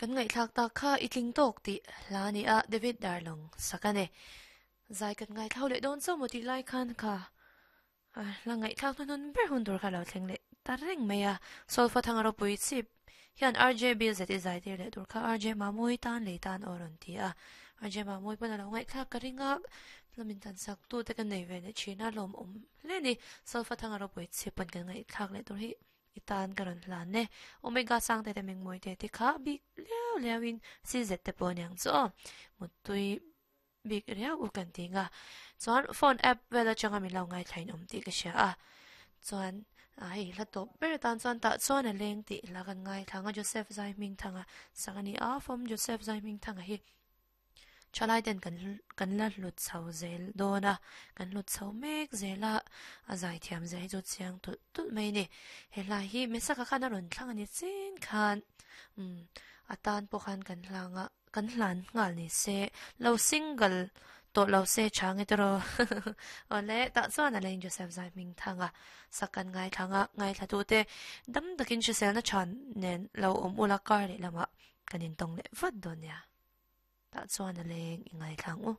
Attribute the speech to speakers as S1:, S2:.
S1: Kan ngaihthlak tak kha i tling tawk tih hla a ni a, David Darlong sak a ni. Zai kan ngaithlau leh dawn chauh maw tih lai khan kha hla ngaihthlak hnuhnun ber hun tur kha lo thleng leh ta reng mai a. Solfa thanga ropui chip hian RJ Bill zet i zai tir leh tur kha RJ Mamui tan lei tan aw rawn ti a. RJ Mamui pawn a lo ngaihthlak ka ring a, hla min tan sak tu te ka nei ve leh thin a, lawmawm hle a ni. Solfa thanga ropui chip pawn kan ngaihthlak leh tur hi I tan ka rawn hlan e. Omega sang te te mengmawi te te kha bik liau liau in CZ te pawh aniang chu aw. Muttui bik riau u kan ti nga. Chuan phone app vel atanga min lo ngaithla in awm tih ka hria a. Chuan a hei hla tawp ber atan chuan tah chuan a leng tih hla kan ngaithla ang a Joseph Zaihmingthanga sak a ni a, Fawm Joseph Zaihmingthanga hi. Thalai ten kan kan la hlut chho zel dawn a, kan hlut chho mek zel a, a zaithiam zia hi chu chiang tulh tulh mai a ni. He hla hi Mesaka khan a rawn thlang a ni chin khan umm a tan pawh khan kan hlang a, kan hlan nghal ni se, lo single tawh lo se tha nge tawrh aw. Awle tah chuan a leng Joseph zai hming thang a, sak kan ngaithlang a, ngaithlatute dam takin hriselna tha nen lo awm ula kar lehlamah kan intawng leh vat dawn nia. Tah chuan a leng i ngaithlang u.